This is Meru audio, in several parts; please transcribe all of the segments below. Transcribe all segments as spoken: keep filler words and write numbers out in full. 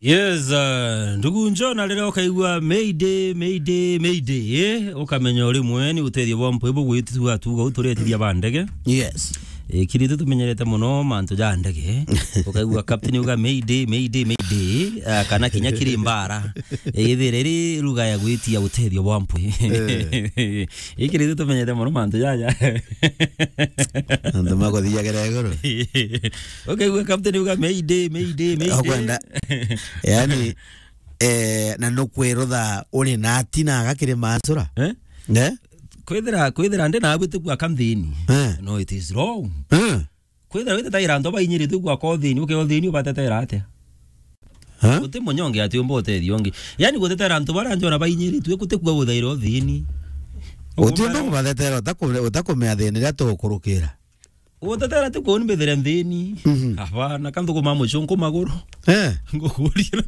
Yes, uh, ndugu Njona, riria ukaigua Mayday, Mayday, Mayday, eh, ukamenya uri mwe ni utethio bwa mpwi bugwitua tuga uturetithia ba ndege. Yes. Eh, kiri tu tumenyerete muno mantu ja ndege. Ukaigua captain uga Mayday, Mayday, Mayday, ah, kana kinya kiri mbara. Eh, ithire ri ruga ya gwitia utethio bwa mpwi. Eh. Ikiri tu tumenyete muno mantu jaja. Antu makuthiagera iguru. Ukaigua captain uga, "Mayday, mayday, mayday." Okwenda. Yani, eh, na nukwirutha uri na atina agakiri mansura. Eh? Ne? Kwithira, kwithira ndi na abwite kwa kanthini. Eh. No, it is wrong. Eh. Kwithira witetaira antu bainyiritue gwa kothini, uke othini ubatetera atia? Ha? Guti munyonge ati umba utethio ungi. Yani gutetera antu baria njona bainyiritue, guti kuga guthaira uthini. Uti umba kubathetera utakume-, utakumea thina iria tugukurukira. Gutetera ti kuu ni mbithire nthini. Mhm. Abana, ka nthukuma mucunku maguru. Eh. Ngukuria.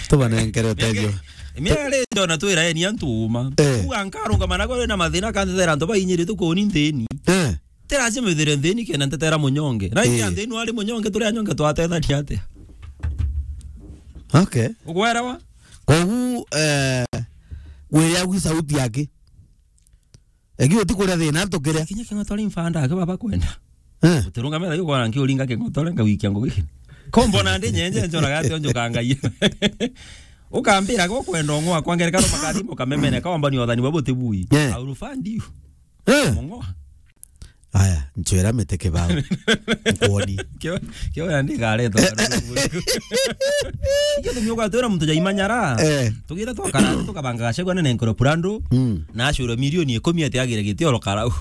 Tubanenkere utethio. Miaka ri njona twira eni antu uma. Eh. Kuga nkarungama na gwe na mathina, ka ntetera antu bainyiritue kuu ni nthini. Eh. Ti lazima withire nthini kenda ntetera munyonge. Na inya nthini wari munyonge, turi anyonge twatethania atia? Okay. Ugwerewa? Kogu, eh, gwiria gwi sauti yake. Egi uti kuria thina ntukire. Kinya king'otore mfanda ake baba kwenda. Eh. Utirungamira yu kwana nki uringa king'otore nga wikia ngugi. Kombo na ndi nyenje njoraga ati onjukangaia. Ukambira go kwenda ong'wa kwa ngerekano makathimo kamemene ka wambani wathani wa butibui. Eh. I will fund you. Eh. Mong'oa. Aya, nchwera mete kibao. Nkwoni. Kio, kio ya ndi gareto. Ikio tumioka twira muntu ja imanyara. Eh. Tugita twakara tukabanga gacegwa nene nkoro purando. Mm. Na acura milioni ikumi ati agire giti oro karau.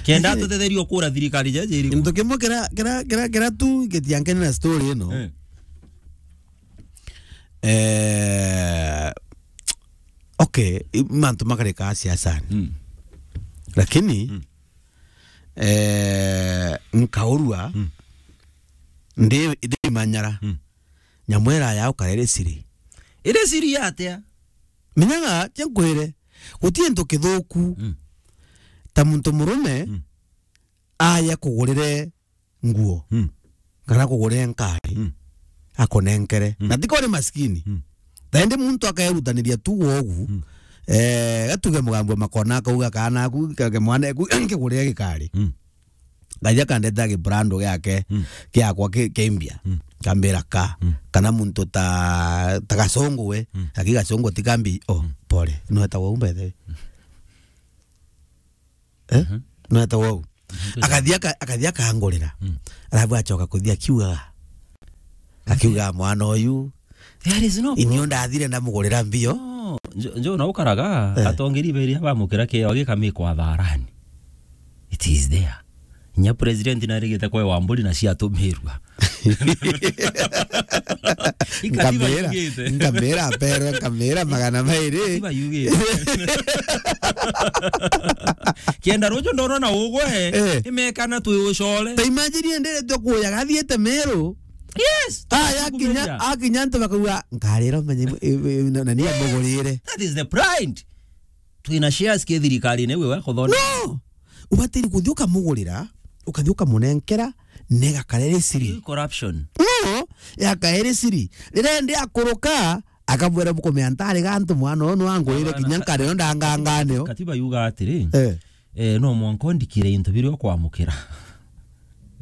Kenda tutetherio kura thirikari ja jiri. Ntu kimwe kira, kira, kira, kira tu gitiankene na story ino. Eh. Eh, okay, i-, mantu makareka siasani. Mm. Lakini, mm, eh, nkaurua, mm, ndi, ndi manyara. Mm. Nyamwera yao karere siri. Iri siri atia? Menyaga, tia nkwire, guti into kithuku. Mm. Ta muntu murume, mm, aya kugurire nguo, mm, kana kugurire nkari, mm, akunenkere. Mm. Na tiko ni maskini. Mm. Taindi muntu akerutaniria tu wogu, mm, eh, gatuge mugambo makona akauga kana aku, kage mwana aku, nkigurire gikari. Mm. Ngaja kandeta gibrando giake, mm, giakwa ki-, kimbia. Mm. Kambira ka. Mm. Kana muntu ta, ta gasongo we, mm, aki gasongo ti kambi, oh, mm, pole. No eta wau mbethe. Eh? Mhm. No eta wau. Mhm. Akathi aka-, akathi akangurira. Mm. Arabu acoka kuthi akiugaga. Akiuga mwana uyu. There is no problem. Inio ndathire ndamugurira mbio. No, njo, njo na ukaraga, eh, atongeri beri abamukira kio gikami kwa tharani. It is there. Inya president narigite kwe Wamburi na ciatumirua. Ikatiba nkamera, yugite. Nkamera, pero nkamera magana mairi. Ikatiba yugite. Kenda ruju ndona na ugwe, eh, imekana twi ucore. Ta imagine enderetwe kuya gathiete Meru. Yes. Aya akinya, akinya ntu bakauga, "Nkarira menye, eh, eh, na, na ni amugurire." That is the pride. Twina shares ki thirikarine iwe wa kuthona. No! Ubatiri kuthi ukamugurira, ukathi ukamunenkera, nega karere siri. Corruption. No, ya karere siri. Rire ndi akuruka, akabwera bukumea ntari gantu mwana uyu nwangurire kinya nkare yo ndanganganeo. Katiba yuga atiri, eh, eh, no mwanka ondikire into biria ukwamukira.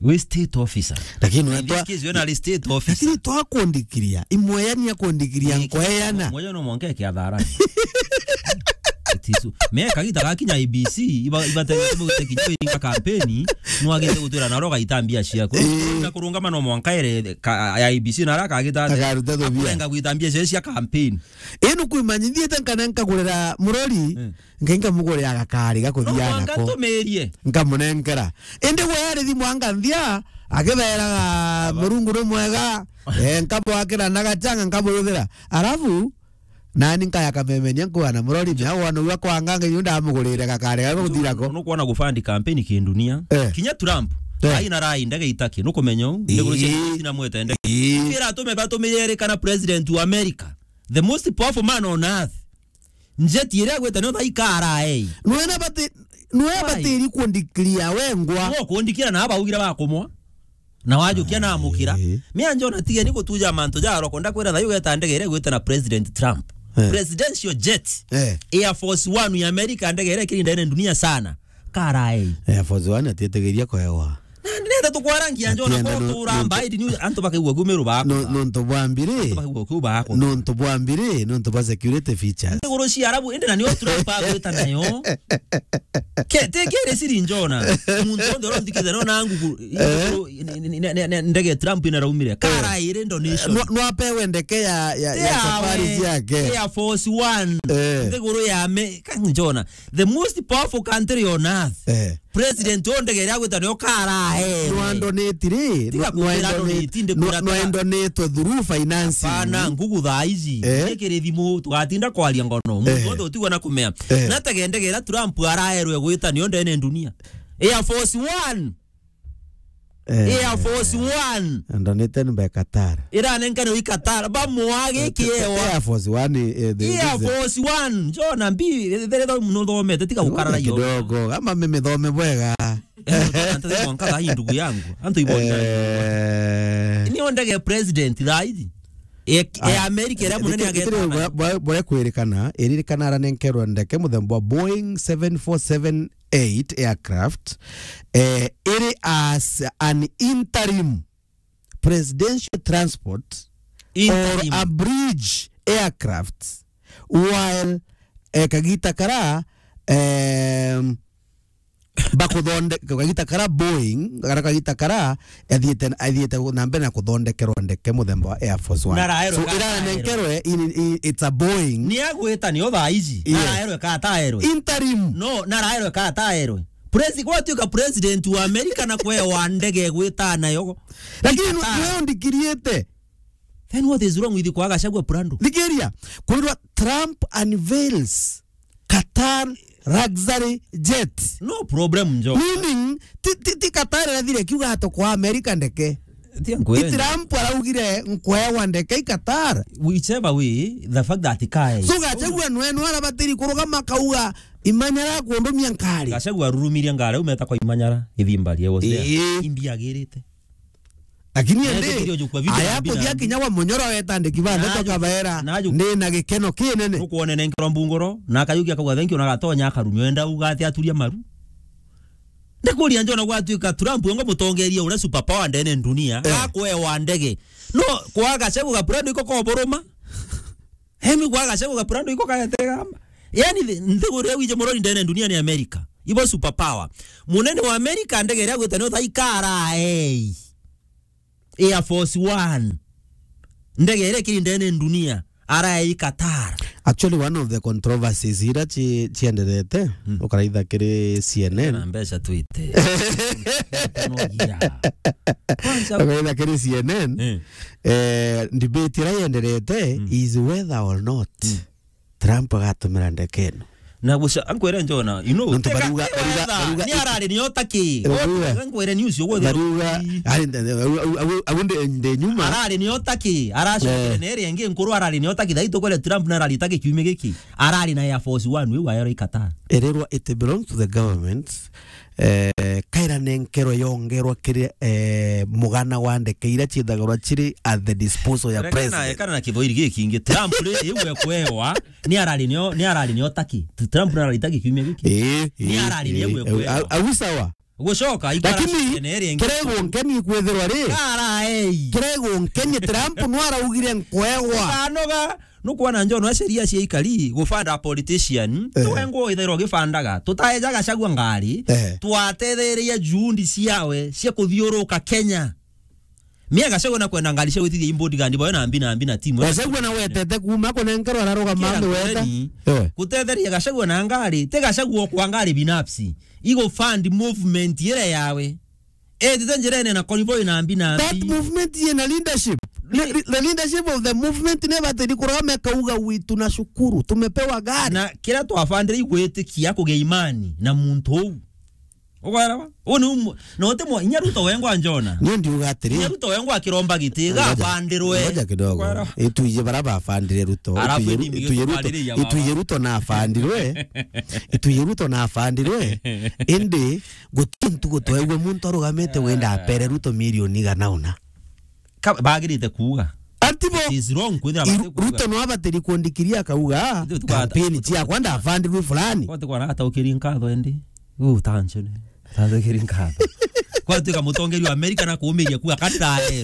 Wi state officer. Lakini in this case, we na state officer. Lakini twakundikiria, imweyania kundikiria nkoeyana. Mweya no mwanka eke atharani. It is, me kagita gakinya I B C, iba, iba tena timu gute kinya winga campaign, no agite gutwira na roga itambia ciaku. Eh. Na kurungama no mwanka ere ka, ya I B C na raka agita ate. Akaruta thubia. Akurenga gwitambia cia, cia campaign. Ino kwimanyithite nkana nkagurira murori. Eh. Ngai nkamugurira gakari gakuthiaga nako. No mwanka ntumirie. Nkamunenkera. Indi gwe ari thimu anganthia, akiberaga Murungu ni mwega, eh, nkabwakira na gachanga, nkaburuthira. Arafu, nani nkaya kamemenia nkuga na murori, mea wona ua kwanga ngai yu ndamugurire gakari gaku guthira ko. Nukwona gufandi campaign kindunia. Eh. Kinya Trump, eh, aina rai ndege itaki, nukumenya u, ii, ndege cia tina mwete ndege. Ii. Kira atume batumire eri kana president wa America, the most powerful man on earth. Njeti iria agwite niyo thaikara ei. Nwena bati, nwe batiri kundikiria wengwa. Nwe kundikira na baugire bakumwa. Na wajukia na amukira. Eh. Mia njona tigeni gutuja mantu ja aroko, ndakwira thayu geta ndege iria igwita na President Trump. Eh. Presidential jet. Eh. Air Force One ya America, ndege iria ikiri ndene dunia sana. Karaei. Air Force One atietegeria kwewa. Na nenda tukwarangia njona. Atienda ko no, tura no, mbaidi ni antu bakaigua kumiru bako. No, nontu bwa mbiri. Antu bakaigua ku bako. Nontu bwa mbiri, nontu bwa security features. Ndiguru cia Arabu, indi na nio Trump agwita nayo. Ke, te kere siri njona. Muntu onde oro ndikithe no na ngugu. Ndege Trump inaraumire. Karairi donation. No, no apewe ndeke ya, ya, ya safari ciake. Air Force One. Eh. Ndiguru ya me, ka njona. The most powerful country on earth. Eh. President o ndege iria agwita nayo karae. No andonate ri? Tiga no, no kumbira andonate, andonate, ndi no, kwira no tiga. Andonate through financing. Pana ngugu thaa ici. Eh? Ikiri thimu, tugatinda kwaria ngono. Muntu wothe utigwa na kumea. Eh. Na tege ndege iria Trump araerwe gwita niyo ndene dunia. Air Force One. Eh. Air Force One. Andonate ni by Qatar. Iranenkanirwe i Qatar. Bamwage kiewa. Air Force One, eh, the, Air Force One. Njona mbi, there, there, no thomete, tiga gukarara yo. Kidogo. Ama mimi thome bwega. Eh, ndio, ndio, ndio, nkaga hii ndugu yangu. Antu ibo. Eh. Ni o ndege president thaa ici. E, e America iria munene ageta nayo. Bore kwirikana, iririkana aranenkerwa ndeke muthemba wa Boeing seven four seven eight aircraft, eh, iri as an interim presidential transport or a bridge aircraft, while, eh, kagita kara, em, bakuthonde-, kagita kara Boeing, kana kagita kara, athiite, athiite na mbere na kuthondekerwa ndeke muthemba wa Air Force One. Na araerwe. So, ka iranenkerwe in, in, it's a Boeing. Ni agwita nio thaa ici. Yes. Na araerwe ka ataerwe. Interim. No, na araerwe ka ataerwe. Presi-, gwatuika president wa America na kwewa ndege gwita nayo. Lakini nu-, Qatar. Nio ndikiriete. Then what is wrong with kwaga Gachagua Prado? Thikiria, kwirwa Trump unveils Qatar luxury jet. No problem, njo. Meaning, ti, ti, ti Qatar irathire kiuga ato kwa America ndeke. Ti ankwenda. Ti Trump araugire nkwewa ndeke i Qatar. Whichever way, the fact that kae. So Gachagua nwe, nwe arabatiri kurugama kauga, "Imanyara kundumia nkari." Gachagua arurumirie ngari, umeta kwa Imanyara, Ithimbari, I was there. Ii. Imbiagirite. Lakini ende, aya kuthia kinya wa Munyoro wetandiki bande tokabera, ndi na gikeno kinene. Nukwone nenkerwa mbunguro, na akayukia akauga, "Thank you," na agatonya akarumio, enda uga ati aturia maru. Ndikuria njona gwatuika Trump ngo mutongeria uria super power ndene dunia, eh, akwewa ndege. No, kwaga Gachagua Prado iko koboroma. Hemi kwaga Gachagua Prado iko kaetegamba. Yani, thi-, nthiguru iria wije murori ndene dunia ni America. Ibo super power. Munene wa America ndege iria gwita nio thaikara, ei. Air Force One. Ndege iria ikiri ndene dunia. Arae i Qatar. Actually, one of the controversies ira ci-, cienderete, mm, ukaraitha kiri C N N. Na mbeca twite. Kwanza ukaraitha kiri C N N. Eh. Eh, debate ira yenderete, mm, is whether or not, mm, Trump agatumira ndeke ino. Na guca, ankwere njona, you know, nontu tega, baruga, tega baruga, etha, baruga, ni arari nio taki. Baruga. Ankwere news yo gwethe. Baruga, ari nde, au, au, au, au nde, nde nyuma. Arari nio taki, aracokere, eh, na iri ingi nkuru arari nio taki, thai tukwere Trump na arari taki kiumia giki. Arari na Air Force One, wiu aero i Qatar. Ererwa it belongs to the government. Eh, kaira nenkerwa yongerwa kiri, eh, mugana wa ndeke iria ciithagirwa ciri at the disposal ya president. Kana na kithoiri giki kingi, Trump ri, iu ekwewa, ni arari nio, ni arari nio taki. Trump ni arari taki kiumia giki. Eh, ni eh, arari ni eh, iu ekwewa. Au, au sawa. Gucoka, lakini kirego nkeni kwithirwa ri. Kara, ei. Kirego nkeni Trump no araugire nkwewa. Kanoga. Nukwona njono a sheria cia ikari, gufanda a politician, eh, tuwe ngwo ithairwo gifandaga. Tutaeja Gachagua ngari, eh, twatethereria juhudi ciawe cia kuthiuruka Kenya. Mia Gachagua na kwenda ngari cia gwitithia i bodyguard bawe na mbi na mbi na timu. Gachagua na wetete kuma kunenkerwa ararugama. Kira nthi weta. Ngoreni, eh, gutetheria Gachagua na ngari, ti Gachagua okwa ngari binafsi. Igufund movement ire yawe. Etite njirene na convoy na mbi na mbi. That movement yena leadership. Le-, le-, the leadership of the movement nebatiri kurama ikauga, "We tunashukuru, tumepewa gari." Na kiria twabandire igwitikia kugia imani na muntu uu. Ukwelewa? Uu ni umu-, na uti mwa-, inya Ruto wengwa njona. Ni ndiuga atiri. Inya Ruto wengwa akiromba giti, ga Ngoja, abandirwe. Ngoja kidogo. Ukwelewa? Ituije bara bafandire Ruto. Arafu Ituije indi Ru-, Ituije Ruto, migutwaririria baba. Ituije Ruto na afandirwe. Ituije Ruto na afandirwe. Indi guti ntugu twegwe muntu arugamite wenda apere Ruto milioni igana una. Ka-, bagirite kuuga. Ati bo. It is wrong kwithira Iru-, bati kuuga. Ruto no abatiri kuandikiria akauga, Ithu tukwa-, "Kampeni ciakwa ndafandirwe fulani." Kwa tukwa nataukiri nkatho endi. Uu tancho ni. Tathikiri nkatho. Kwa tuika mutongeri wa Amerika na kuumiria kuuga, "Katirae."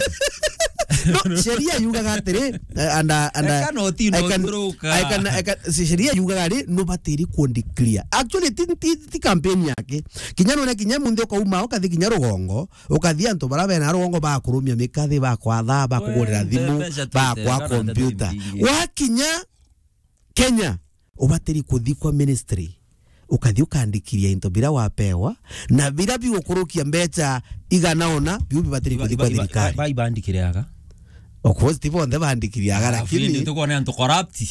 No, sheria yugaga atiri, eh, and, uh, and, uh, Eka no ti no I can, kuruka. I can, I can, si-, sheria yugaga ri, nubatiri kuandikria. Actually, ti, ti, ti campaign yake. Kinya none kinya munthi ukauma, ukathi kinya rugongo, ukathi antu bara bena rugongo bakurumia mikathi, bakwatha, bakugurira Wee, thimu, mbeca twite, bakwa kana ndeto kompyuta. Imbingi. Wakinya Kenya, ubatiri kuthi kwa ministry, ukathi ukandikiria into bira wapewa, na bira bigukurukia mbeca igana ona, biu bibatiri Iba-, kuthi kwa iba-, iba-, thirikari. Ba-, ibandikiriaga. Of course, ti bonthe bandikiriaga, Alafu lakini indi tukwona antu corrupt.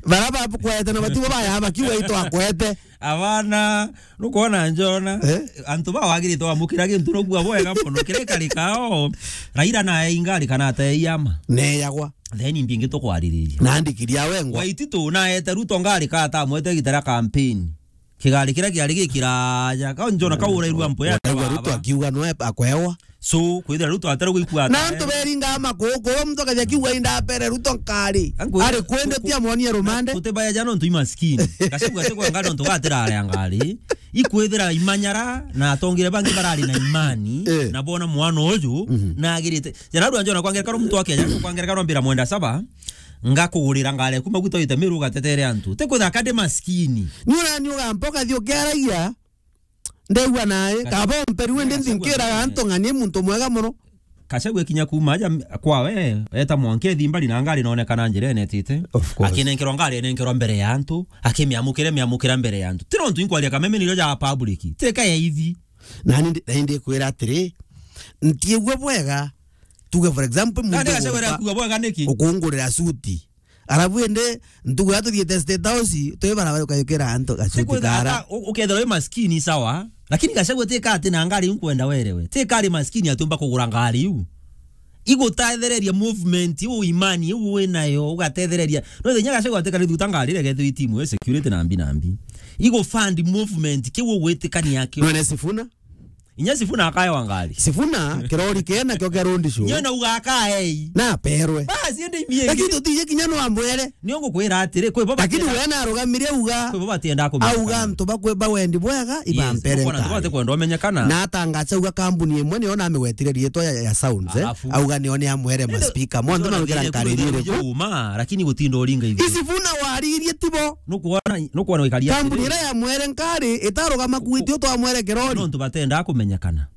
Bara bakwete na batibo baya bakiuga itwakwete. Abana, nukwona njona, Eh? Antu ba wagirite wamukira gintu nobua bwega mono, kiri kari kao, Raila na ingari kana ateyama. Neyagwa. Then imbi ingi tukwaririria. Na ndikiri ya wengwa. Waititu naete Ruto ngari ka atamwete gitara campaign. Kigari kiria kiari gikiraja, ka njona kaurairua mpo ya Waigua Ruto baba. Akiuga no akwewa. So, kwithira Ruto atere gwikua Na ata, antu eh? Beringa makukuru, muntu akaja kiuga inda apere Ruto nkari. Angu-, Ari kwende angu-, tia mwonie rumande. Tutibaya jana ntu imaskini. Gacagua ati kwa ngari ntu gatira aria ngari. Ikwithira imanyara na atongire bangi barari na imani, Eh. Na bona mwana uju, Mhm. Nagirite. Jana rwa njona kwa ngerekano muntu wa Kenya, kwa ngerekano mbira mwenda saba, ngakugurira ngari yaku maguta wite Meru ugatetere antu. Ti kwithira kande maskini. Ni urani ugampa ukathi ukiaragia, ndegua nae, Gachagua kaba omperi wende Gachagua nthinkiraga antu ng'ani muntu mwega mono. Gachagua kinya kuma aja m-, kwawe, eta mwanka ethi mbari na ngari nonekana njira enetite. Of course. Akinenkerwa ngari enenkerwa mbere ya antu, akimiamukire, miamukira mbere ya antu. Ti nontu inkwaria kameme niro ja public. Teka ya ithi. Na ni ndi, na ndi kwira atiri, ntiigua bwega, tuge for example, muntu Nandi Gachagua uguka-, akuga bwega niki? Ukungurira suti. Arabu ende, ntugu ya tuthiete State House, twi barabara ukayukira antu gacuti Sikwithira kara. Ata, u-, ukethirwa wi maskini sawa, lakini Gachagua ti ka ati na ngari iu nkwenda werewe. Ti ka ari maskini atiumba kugura ngari iu. Igutethereria movement iu, imani iu wi nayo, ugatethereria. No, inya Gachagua atikari thuta ngari iria gethirwa itimu, security na mbi na mbi. Igufund movement kiu ugwitikania kio. None Sifuna? Inya Sifuna akaewa ngari. Sifuna, kirori kena kio kia road show. Inya nauga akaei. Na aperwe. Basi, ende imie Lakini ingi. Tutiye kinya no amwere. Nio ngukwira atiri, kwi bo Lakini batienda-, we na arugamire uga, kwi bo batienda kumenyekana. Auga antu bakwe bawendi bwega, Yes, ibampere ukwona antu nkari. Batikwenda umenyekana. Na atangacha uga kambuni imwe niyo namigwetire riitwa ya, ya Sounds, eh? Alafu. Auga niyo ni amwere Ndio, maspika. Monthe ndio marugera ndio nkari ndio iriku. Uma, lakini gutinda uringa ithu. Isifuna waririe tibo. Nukwona, nukwona wikaria Kambuni atiri. Iria ya mwere nkari, itarugama kuitia utwa mwere kirori. Nontu batenda kumenyekana.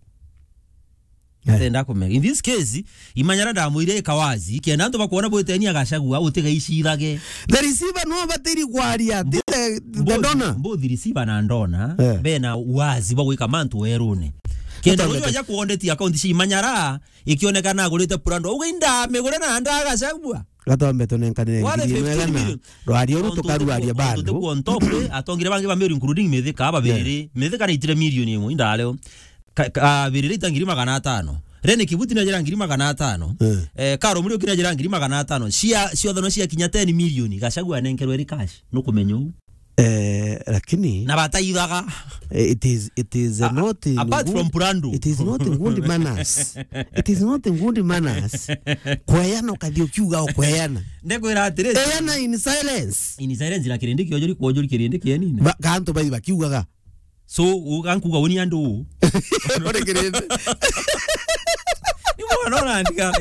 Eh. Atenda kumenya. In this case, imanyara ndamwire ikawazi, kenda antu bakwona bwitenia Gachagua, utigaicirage. The receiver no batiri kwaria, ti the, the Mbothi, donor. Mbothi receiver na ndona, Eh. bena wazi bwa gwika mantu werune. Kenda Atambete. Rujo aja kuondetia account cia imanyara, ikionekana agurite Prado. Uga inda migure na nda Gachagua. Gatombe tunenkanire Wale ngiri imwe fifteen igana. Million. Rwaria uru Tontu tukarwaria tuku-, tontu bandu. Tukuo ntokwe, atongire bangi ba Meru, including Mithika, babiri. Yeah. Mithika naitire milioni imwe, inda leo. Ka-, ka-, ah, birire ita ngiri magana atano. Rene Kibuti najira ngiri magana atano. Eh. Eh, Karo Muri ukina jira ngiri magana atano. Cia, ciothe no cia kinya ten million. Gachagua anenkerwe ri cash. Nukumenya uu. Eh, lakini Na bataithaga. Eh, it is, it is, ah, not in apart good, from Prado. It is not in good manners. It is not in good manners. Kweana ukathi ukiuga ukweana. Ndekwira atiri. Eana in silence. In silence na kirindi kiojuri kuojuri kirindi kienini. Ba-, kantu bai bakiugaga. So, u-, gankuga uni andu u. Uri kirindi. Ni mwana urandika.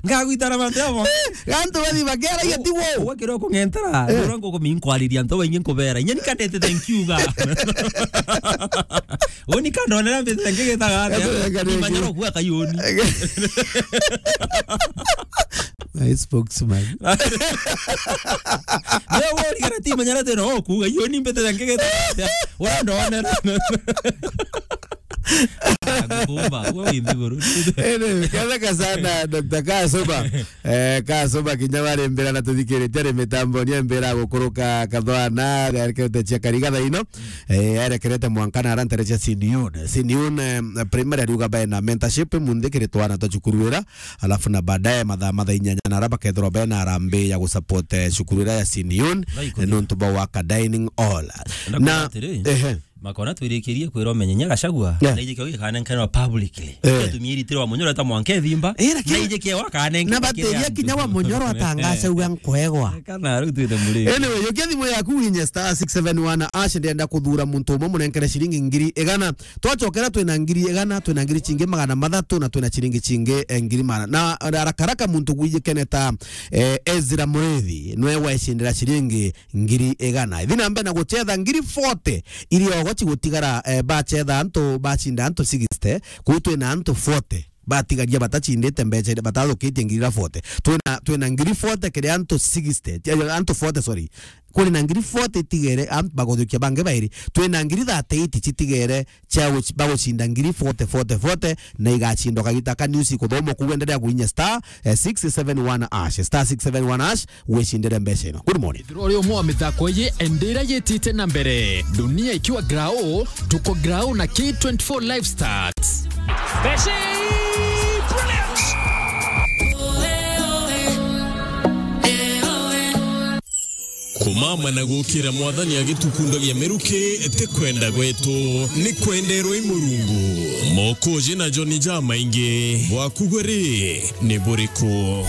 Ngagwitara mantu yamo. Gantu bathi bakera ya tiwo. Uwe kiro kungentara. Eh. Ura ngukuminkwariria antu baingi nkubera. Inya ni kandete thank you ga. Uni kandonera mbete thank you getaga atia. Thank you. Ni manyaro kuga kayuni. My spokesman. Leo wori kana ti manyara tena, oh, kuga, iyo ni mbete ya ngegete. Wenda wonera. Ngumba, we wi nthiguru. Ene, ketheka sana, Doctor Kasoma. Eh, Kasoma kinya bari mbira na tuthikiritie ari mitamboni, mbira gukuruka kathwana, erekerete cia kariga thaino. Eh, erekerete mwanka na ara ntere cia Senior. Senior, eh, primary ariuga bae na mentorship, munthi kiri twana twa cukuru ira. Alafu na baadaye mathaa, mathaa inyanya na ara bakethirwa bena arambi ya gusupport, eh, cukuru ira ya Senior, nontu ba waka dining hall. Na, ehe. Makona twirikirie kwira umenye nya Gachagua, na ije kio gikanenkanwa publicly. Eh. Tumie iritiro wa Munyoro ta mwanka ethimba. Eh, lakini na ije kio wakanenka na bateria kinya wa Munyoro atangacagua nkwegwa. Kana riu twite muri. Anyway, yokia thimu yaku winye star six seven one ash, ndenda kuthura muntu umwe munenkere ciringi ngiri igana. Twacokera twina ngiri igana, twina ngiri cingi magana mathatu, na twina ciringi cingi, eh, ngiri magana. Na haraka haraka muntu gwijikeneta, eh, Ezra Murithi, nwe wecindira ciringi ngiri igana. Ithi na mbere na gucetha ngiri forty iria ogo cigutigara, eh, bacetha antu, bacinda antu sixty, kuu twina antu forty batigaria batacindite mbeca iria, batathukitie ngiri iria forty. Twina, twina ngiri forty kiri antu sixty, eh, antu forty, sorry. Kuri na ngiri forty itigere, antu baguthukia bangi bairi. Twina ngiri thirty-eight citigere cia guc-, bagucinda ngiri forty, forty, forty, na igacindwa kagita ka news kuthomwa kuu. Endelea kuinya star, eh, six seven one ash, star six seven one ash, wicindire mbeca ino. Good morning. Ithiro ri umwe wa mithako iji ndira yitite na mbere. Dunia ikiwa grao, tuko grao na K twenty-four Live Stats. Messi! Brilliant! Kumama na gukira Mwathani agitukundagia miruki ti kwenda gwetu, ni kwenderwa i Murungu. Mokoji na Joni jamaingi, bwaku gwe ri ni buriku?